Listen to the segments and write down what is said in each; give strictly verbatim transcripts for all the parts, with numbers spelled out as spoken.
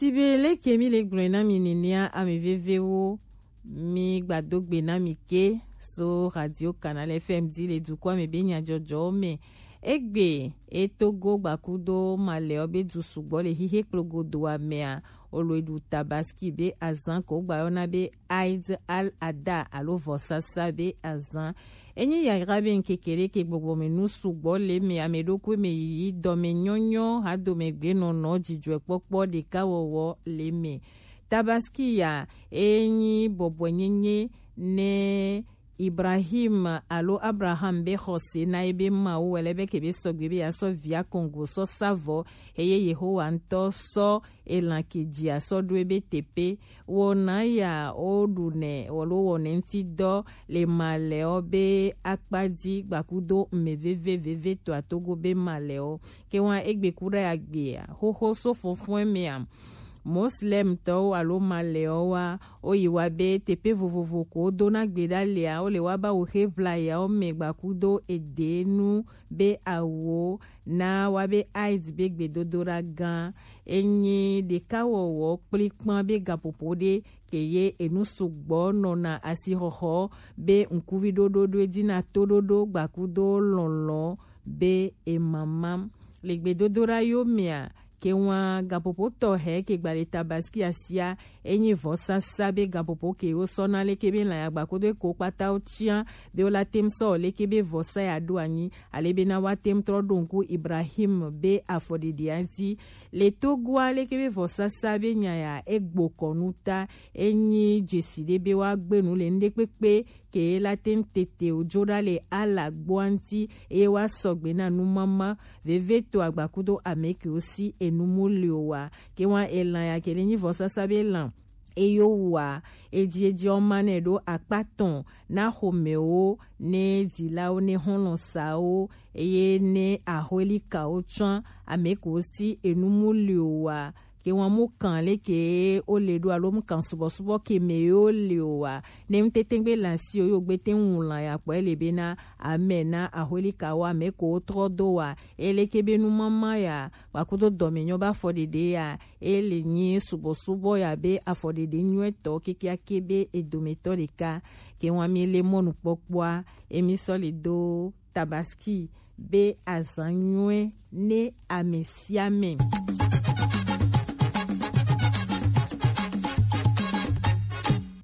Sibe leke mi le gblɔe na mi nenea, ame vevewo, mi gbado gbe na mi ke so Radio Canal F M di le dukɔa me be nyadzɔdzɔwo me. Egbe e Togo gbakudo Malɛɔ be du sugbɔ le hihe kplogodoa mea, olo e ɖu Tabaski be azan ko gbayɔna be Eid al-Adha alo vɔsasa be azan. Enyi yayra be ŋkeke ɖe ke gbɔgbɔ me nu sugbɔ le me, ame ɖokui me yiyi, dɔme nyɔnyɔ, hadome gbenɔnɔ, dzidzɔkpɔkpɔ, ɖekawɔwɔ le me. Tabaski ya enyi bɔbɔenyenye ne Ibrahim alo Abraham be xɔse na ebe Mawu wɛ lɛ be ke be sɔgbe be ya sɔ via kɔngo sɔ savɔ, eye Yehowa ŋutɔ sɔ elan ke dzi asɔ ɖo ebe teƒe. Wɔna ya wo ɖu nɛ alo wɔnɛ ŋuti dɔ le Malɛɔ be akpa dzi gbakudo mɛ veve veve to atogo be Malɛɔ. Ke wa egbe ku ɖe agbea, xoxo so fɔfɔe mea. Moslemtɔwo alo Malɛɔ wa, wo yi wa be teƒe vovovo ko wo dona gbe ɖa lea, wo le wa ba wo xe vlayawo me gbakudo edenu be awo na wa be Eid be gbedodoɖa gã. Enyi ɖekawɔwɔ kplikpan be gaƒoƒo ɖe ke ye enu sugbɔ nɔna asixɔxɔ be ŋkuvi ɖoɖo ɖo edzi na toɖoɖo gbakudo lɔlɔ be emama. Le gbedodoɖa yo mea, ke wa gaƒoƒo tɔxɛ ke gba le Tabaski asia, enyi vɔsasa be gaƒoƒo ke wo sɔ na leke be lã ya gbakudo eko kpata wo tia be wo la tem sɔ leke be vɔsa ya ɖo anyi, ale be na wa tem trɔ ɖo ŋku Ibrahim be afɔɖeɖea dzi. Le Togoa leke be vɔsasa be nya ya egbo kɔ nu ta, enyi dzesi ɖe be wa gbe nu le ŋɖekpekpe ke la te ŋu tete o dzo ɖa le Allah gbɔa ŋuti, eye wa sɔgbe na numama veve to agbakudo ame kewo si enu mu li o wa. Ke wa elan ya ke le nyi vɔsasa be lan eyo wa, edzi edzi ɔma nɛ ɖo akpa tɔn na xomewo, ne dzilawo, ne xɔlɔsawo, eye ne axɔelikawo tsɔ ame kewo si enu mu li o wa. Ke wa mu kan leke wo le ɖo alo mu kan subɔsubɔ ke me yo le o wa. Ne mu tete gbe la si o yo gbe te ŋu la ya kpɔ ele be na ame na axɔelikawo ame ko wo trɔ do wa. Ele ke be nu mama ya, wa kudo dɔme nyɔ ba fɔ ɖeɖe ya. Ele nyi subɔsubɔ ya be afɔ ɖeɖe nyuetɔ kekeake be edometɔ ɖeka. Ke wa mi le mɔnukpɔkpɔa, emi sɔ le do Tabaski be azan nyuie ne ame sia ame.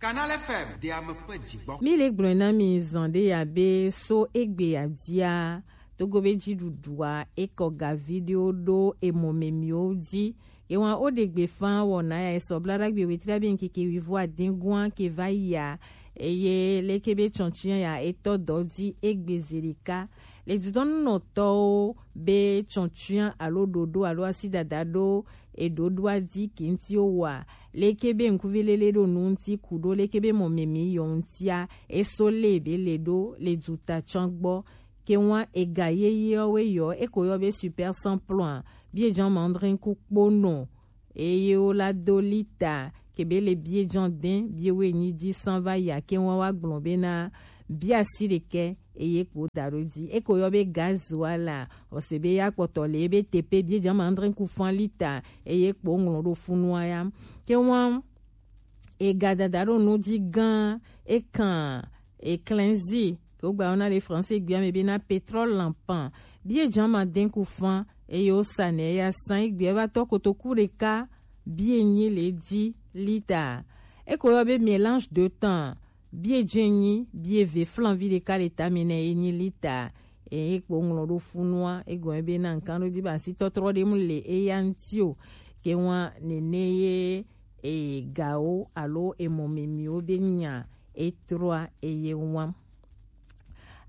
Canal F M de ame ƒe dzigbɔ. Mi le gblɔe na mi zan ɖe ya be so egbe ya dzia, Togo be dziɖuɖua ekɔ ga viɖewo ɖo emɔ me miwo dzi. Ewa wo ɖe gbe fa wɔna ya esɔ bla ɖagbe wetri abe ŋkeke wivo adengua ke va yia, eye leke be tsɔntsia ya etɔ dɔ dzi egbe zi ɖeka. Le dudɔnunɔtɔwo be tsɔntsia alo ɖoɖo alo asidada ɖo eɖoɖoa dzi ke ŋuti wowa, leke be ŋkuvi lele ɖo nu ŋuti ku ɖo leke be mɔ me mi yɔ ŋutia, eso le be le ɖo le duta tsɔ gbɔ. Ke wa ega yeyewo yɔ eko yɔ be super sans plomb, bie jan mandrin ku kponɔ, eye wo la do lita ke be le bie jan den bie wo enyi dzi san va ya ke wa wa gblɔ be na bia si ɖekɛ eye kpo da ɖo dzi. Eko yɔ be gazoa la, ɔse be ya kpɔtɔ le ebe tepe bie jan mandrin ku fan lita eye kpo ŋlɔ ɖo funua ya. Ke wa ega dada ɖo nu dzi gã ekan eklɛnzi ke wogba yɔna le français gbea me be na pétrole lampan. Bie jan ma den ku fan eye wosa nɛ ya san egbea va tɔ kotoku ɖeka bie nyi le dzi lita. Eko yɔ be mélange de thon, bie dze nyi bie ve flanvi ɖeka le tame nɛ ye nyi lita. Eye kpo ŋlɔ ɖo funua egɔme be na nkan ɖo di ba si tɔtrɔ ɖe mu le eya ŋuti o. Ke wa nene ye e gawo alo emɔ memiwo be nya etrɔa eye wa.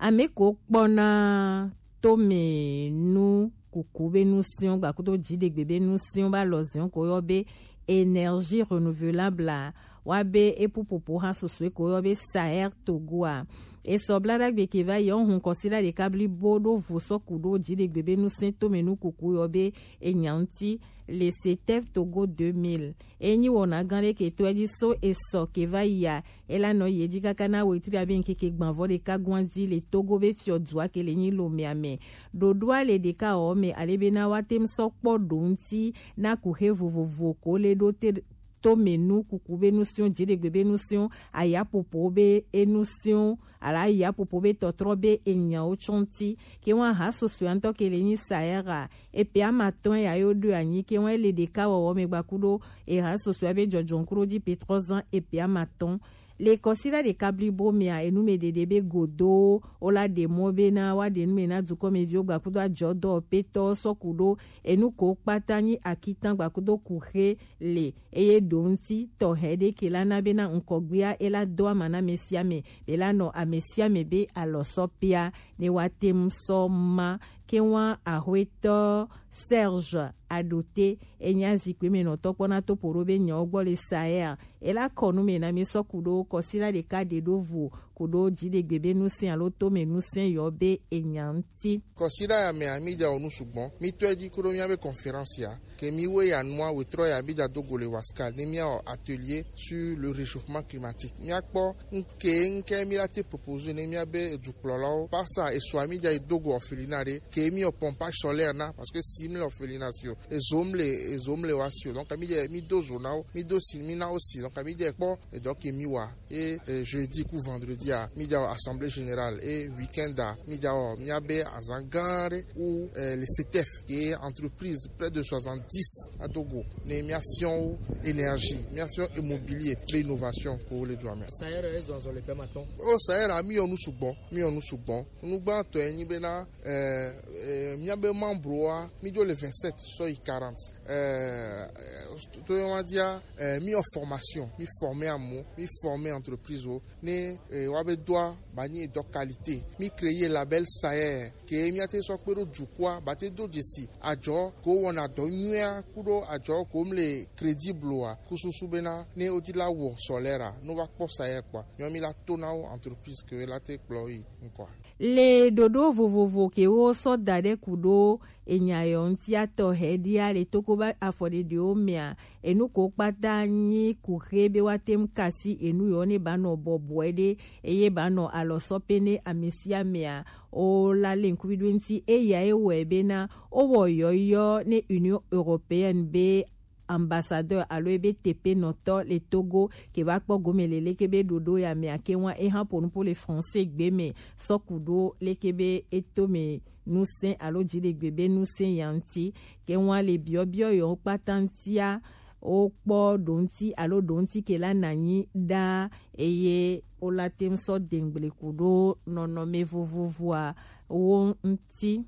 Ame ko kpɔna tome nu kuku be nu siwo gbakudo dziɖegbe be nu siwo ba lɔ ziwo ko yɔ be énergie renouvelable a, wa be epupopo ha susue ko yɔ be Saher Togo a. Esɔ bladagbe ke va yi ɔ hun kɔsila ɖeka blibo ɖo vo sɔ ku ɖo jiɖegbe be nusɛn tome nu kuku yɔ be enya ŋuti, le setɛf togo deux mille. Enyi wɔna gan ɖe ke to eji so esɔ ke va yi a, ela nɔ yi eji kaka na wetri abe nkeke gbanvɔ ɖeka gwan di le togo be fiɔ dua ke le nyi lomea mɛ. Ɖoɖoa le ɖeka ɔ mɛ ale be na wa tem sɔ kpɔ ɖo ŋuti na kuxe vovovo ko le ɖo te tome nu kuku be nusiɔ, jiɖegbe be nusiɔ, ayapopo be enusiɔ, ala ayapopo be tɔtrɔ be enyawo tsɔnti. Ke wan ha sosoe ŋutɔ ke le nyi sayɛra epe ama tɔn ya yo ɖo anyi ke wan ele ɖeka wɔwɔ me gbaku ɖo eha sosoe be jɔjɔn kuro di petrɔ zan epe ama tɔn. Le kɔsila ɖeka blibo mea enu me ɖeɖe be godo o la ɖe mɔ be na wa ɖe nu me na dukɔ me viwo gbakudo ajɔ dɔ petɔ sɔku ɖo enu ko kpata nyi akitan gbakudo kuxe le eye ɖo ŋuti tɔxɛ ɖe ke la na be na ŋkɔgbea e la do ama na amesiame be la nɔ amesiame be alɔsɔpea ne wa tem sɔ ma ke wa axwetɔ Serge Adote enya zikpui me nɔtɔ kpɔna to poɖo be nyawo gbɔ le sayer e la kɔ nu me na mi sɔ ku ɖo kɔsila ɖeka ɖe ɖo vo ku ɖo dziɖegbe be nusɛn alo to me nusɛn yɔ be enya ŋuti. Kɔsila ya mea mi dza wɔ nu sugbɔ mi tɔ edzi ku ɖo mia be conférence ya ke mi we ya nua wetrɔ ya mi dza do go le waskal ne mia wɔ atelier sur le réchauffement climatique mia kpɔ nke nke mi la te proposer ne mia be dukplɔlawo pasa esua mi dza yi do go orphelinat ɖe ke mi wɔ pompage solaire na parce que si mi le orphelinat si o ezo mi le ezo mi le wa si o donc mi dza mi do zo na wo mi do si mi na wo si donc mi dza kpɔ edɔ ke mi wa et euh, jeudi ku vendredi a mi dza assemblée générale et week-end a mi dza wɔ mia be azan gã ɖe ou euh, le CETEF ye entreprise près de soixante-dix à Togo ne mia fiɔ énergie mia fiɔ immobilier be innovation ko le dua me. Sayɛrɛ ezɔzɔ le pɛ ma tɔn. O sayɛrɛ mi yɔ nu sugbɔ mi yɔ nu sugbɔ nugbãtɔ enyi be na euh, euh, mia be membre wa mi dzo le vingt-sept sɔ yi quarante euh, euh, to yɔ ma dia euh, mi yɔ formation mi former amu mi former entreprise o ne eh, wa be doa ba nyi dɔ qualité mi créer label sayer ke mi ate sɔ kpe ɖo dukua ba te do dzesi adzɔ ko wɔna dɔ nyuia ku ɖo adzɔ ko mi le crédible wa ku susu be na ne o di la wɔ solaire a no va kpɔ sayer kpɔ nyɔ mi la to na wo entreprise ke la te kplɔ yi nkɔ. Le ɖoɖo vovovo ke wo sɔ da ɖe ku ɖo enya yɔ ŋutia tɔ hɛ ɖia le toko ba afɔɖeɖewo mea enu ko kpata nyi kuxe be wa tem kasi enu yɔ ne ba nɔ bɔbɔe ɖe eye ba nɔ alɔ sɔ pe ne amesiamea o la le ŋkuvi ɖo ŋuti eya e wɔe be na o wɔ yɔyɔ ne Union Européenne be ambassadeur alo ebe tepenɔtɔ le Togo ke va kpɔ gome le leke be ɖoɖo ya mea ke wa eha po nupo le français gbe me sɔ ku ɖo leke be eto me nusɛn alo dziɖegbe be nusɛn ya ŋuti ke wa le biɔbiɔ yɔ kpata ŋutia o kpɔ ɖo ŋuti alo ɖo ŋuti ke la nanyi ɖa eye o la tem sɔ dengble ku ɖo nɔnɔme vovovoa wo ŋuti.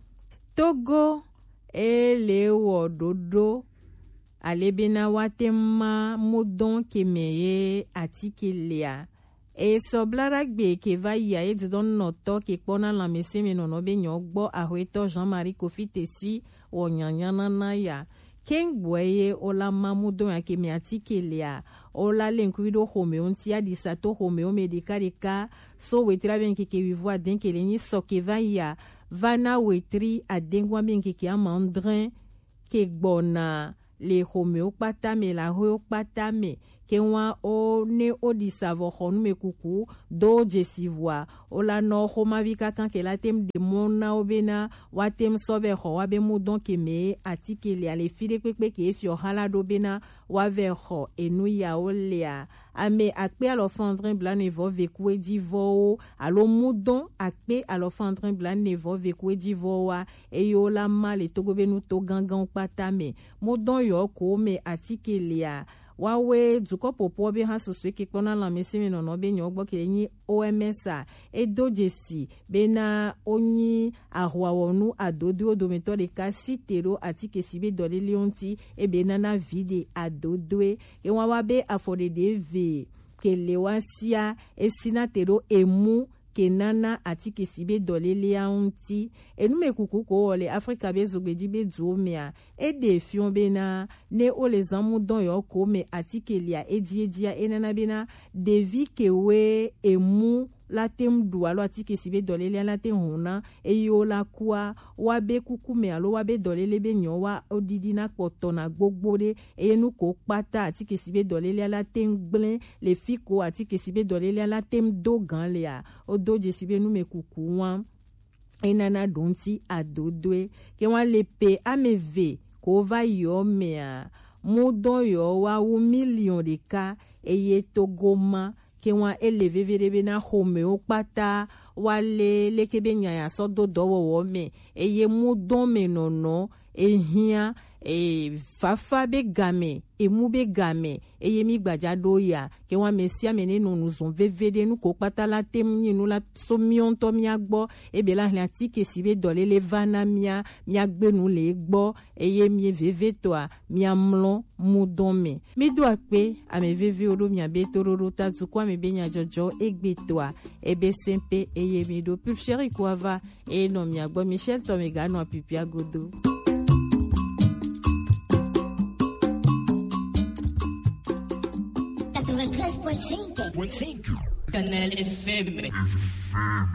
Togo e le wɔ ɖoɖo ale bena wa te ma modɔn ke me ye atike lea. Esɔ blaɖagbe ke va yi a ye dodɔn nɔtɔ ke kpɔ na lanmese me nɔnɔ be nyɔ gbɔ ahwetɔ Jean-Marie Kofi Tesi wɔ nyanya nana ya. Kengboɛ ye o la ma modɔn ya ke me atike lea. O la le ŋkuvi ɖo xome o ŋuti aɖisa to xome o me ɖeka ɖeka so wetri abe ŋkeke wivo adɛn ke le nyi sɔ ke va yi a va na wetri adɛngua be ŋkeke ama ŋdrɛn ke gbɔna le xomewo kpata me le ahoewo kpata me ke wa o ne o ɖi savɔ xɔ nu me kuku do dzesi vɔa o la nɔ xomavi kaka ke la tem ɖe mɔ na wo bena wa tem sɔ vɛ xɔ wa be mu dɔn ke me atike le ale fi ɖe kpekpe ke efiɔ xa la ɖo bena wa vɛ xɔ enu yawo lea. Ame akpe alɔfa adre blaene vɔ ve ku eji vɔwo alo mu dɔn akpe alɔfa adre blaene vɔ ve ku eji vɔwoa eye wo la ma le Togo be nuto ganganwo kpata me. Mo dɔn yɔ ko me atike lea. Wawe dukɔ popo be ha susu ke kpɔna lanmese me nɔnɔ be nyɔ gbɔ ke nyi O M S a. E do dzesi be na o nyi ahwawɔnu adodoewo dometɔ ɖeka si te ɖo atike si be dɔlelewo ŋuti ebe nana vi ɖe adodoe. E wa wa be afɔɖeɖe ve ke le wa sia e si na te ɖo emu ke nana atike si be dɔlelea ŋuti. Enu me kuku ko wɔ le Afrika be zogbeji be duwo mea, e ɖe fiɔ bena ne o le zan mu dɔn yɔ ko me atike lia eji ejia e nana bena ɖevi ke we emu la te ŋu ɖu alo atike si be dɔlélea la te ŋu hɔn na, eye wo la kua, woabe kuku mɛ alo woabe dɔlélé be nyɔ wa wodidi na kpɔtɔ na gbogbo ɖe, eye nu ko kpata atike si be dɔlélea la te ŋu gblẽ le fi ko atike si be dɔlélea la te ŋu do gan lea, wodo dzesi be numekuku wa enana ɖo ŋuti adodoe. Ke wa le pe ame eve ko va yɔ mɛa, mudɔn yɔ wa wu miliɔn ɖeka, eye Togo ma ke wa ele veveɖe be na xɔmɛwo kpata wa le leke be nya ya sɔ do dɔwɔwɔ mɛ, eye mudɔn mɛ nɔnɔ ehiã e fafa be game, emu be game, eye mi gbaja ɖo ya ke wa mɛ sia mɛ ne nɔ nu zɔn veveɖe nu ko kpata la te ŋu nyi nu la so miɔ ŋutɔ mia gbɔ, ebe la hlɛ atike si be dɔlélé va na mia, mia gbe nu le egbɔ, eye mi vevetɔa mia mlɔ mudɔn mɛ. Mi do akpe ame vevewo ɖo mia be toɖoɖo ta dukɔ ame be nyadzɔdzɔ egbe tɔa ebe sɛnpe, eye mi ɖo pulcheri ko ava eye nɔ mia gbɔ Michel tɔ mi ga nɔ apipia godo. Quatre-vingt-treize point cinq. Kanal F M.